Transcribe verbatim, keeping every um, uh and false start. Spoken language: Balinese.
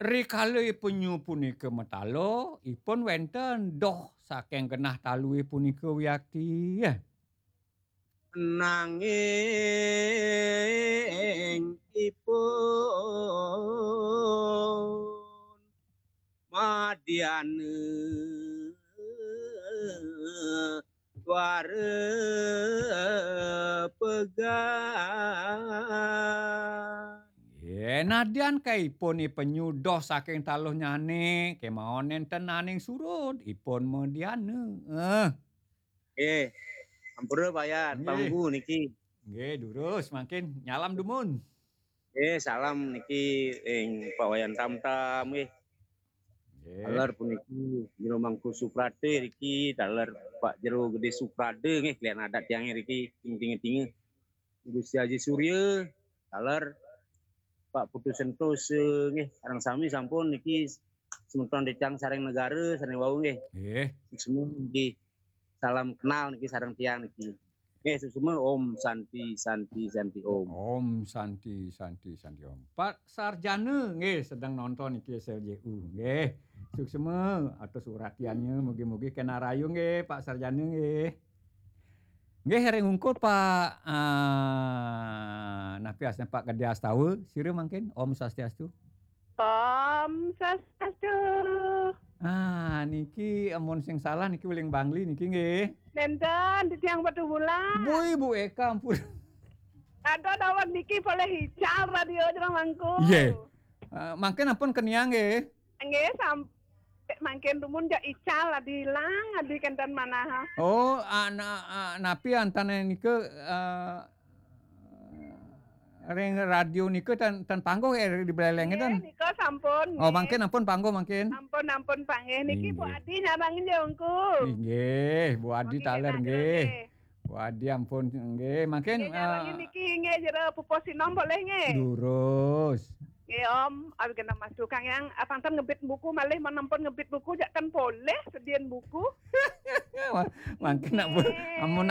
Rikala ipenyu punika mataluh, ipun wenten doh saking genah taluhe punika wiakti. Nanging ipun madyana dwara pegan. Nggih, nadyan kaipun ipenyu doh saking taluhnyane, kemawon nenten naning surud, ipun madyana. Eh. Nggih, ampura Pak Yan, Nggih. Panggu niki. Nggih, durus mangkin nyalam dumun. Nggih, salam niki ing Pak Wayan Tamtam nggih. Nggih. Taler puniki Jero Mangku Suprate niki, taler Pak Jero Gede Suprade nggih, kalian adat tiang niki, ting ting ting. Gusti Aji Surya, taler Pak Putu Sentosa nggih, sareng sami sampun niki semeton Decang sareng negara sareng wau nggih. Nggih. Semua nggih. Salam kenal niki sareng tiang niki. Nggih, suksma. Om Santi, Santi, Santi, Om. Om Santi, Santi, Santi, Om. Pak Sarjana nggih sedang nonton niki S L J U nggih. Suksma atus uratiannya, mugi-mugi kena rayu nggih Pak Sarjana nggih. Nggih, ring ungkur Pak, ah, napi asma Pak Gede Astawa, sira mangkin. Om Swastiastu. Om Swastiastu. Ah, niki amun sing salah niki Uling Bangli niki nggih. Nenten, titiang Batubulan. Bu, Ibu Eka, ampun. Ada dawet niki polih ical radio Jero Mangku. Nggih. Ah, mangkin ampun keniang nggih. Nggih, sampai mangkin dumun jak ical adi ilang, adi kenten manah. Oh, ana, a-, napi antane nika, eh, ring radio nika ten, ten pangguh eh, di beleleng Nggih, ten? Nika sampun, Oh, nggih. Mangkin ampun pangguh mangkin. Ampun, ampun, panggih. Niki Bu Nggih. Adi nyarengin ya, Ungku. Nggih, Bu Adi Mangkin taler kena nggih. Nggih. Bu Adi ampun nggih, mangkin, Nggih, nyarengin eh, niki nggih Jero pupuh sinom polih nggih. Durus. Nggih, Om, awi kena Mas Tukang yang, ah, pangten ngebit buku malih, men ampun ngebit buku jak ten polih sedian buku. Mangkin nak bu-, Nggih. Amun nak